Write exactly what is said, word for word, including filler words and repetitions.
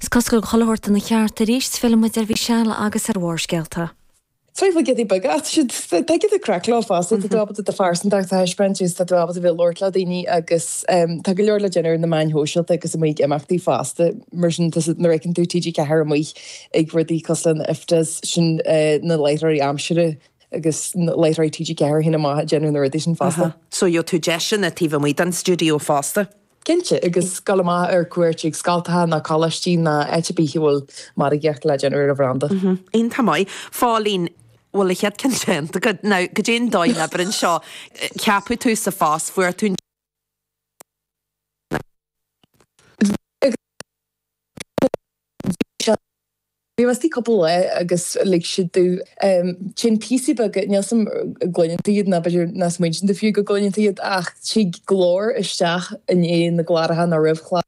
Is cosúil go bhfuil chuile shórt ina cheart arís, fillfidh muid ar Mhichelle agus ar Bharrscéalta. Tá bhfuil giotaí beaga ach tá siad tá giota craic leo fosta, tá tú ábalta do phearsantacht a thaispeáint agus tá tú ábalta bheith ag labhairt le daoine agus tá go leor le déanamh ar na meáin shóisialta agus amuigh ag imeachtaí fosta mar sin tá nuair a fheiceann tú TG Ceathair amuigh ag rudaí cosúil le na IFTAs sin na láithreoirí aimsire agus na láithreoirí TG Ceathair a théann amach ag déanamh na rudaí sin fosta. So gheobhaidh tú deiseanna taobh amuigh den stiúideo fosta. Cinnte, agus dul amach ar cuairt ag scoltacha nó coláistí nó áit ar bith a bhfuil margaíocht le déanamh ar an bhranda. Iontach maith. Phóilín, bhfuil a chéad ceann déanta agat? Now, goidé an dóigh a n-oibríonn seo? Ceapadh tú sa phost, fuair tú an. Bhí mé istigh cúpla lá agus lig siad domh téann píosaí beaga, níl 's a'm an gcluineann tú iad ná b'fhéidir nach smaointíonn tú fiú go gcluineann tú iad ach tig glór isteach i ndiaidh na gcláracha nó roimh chláracha.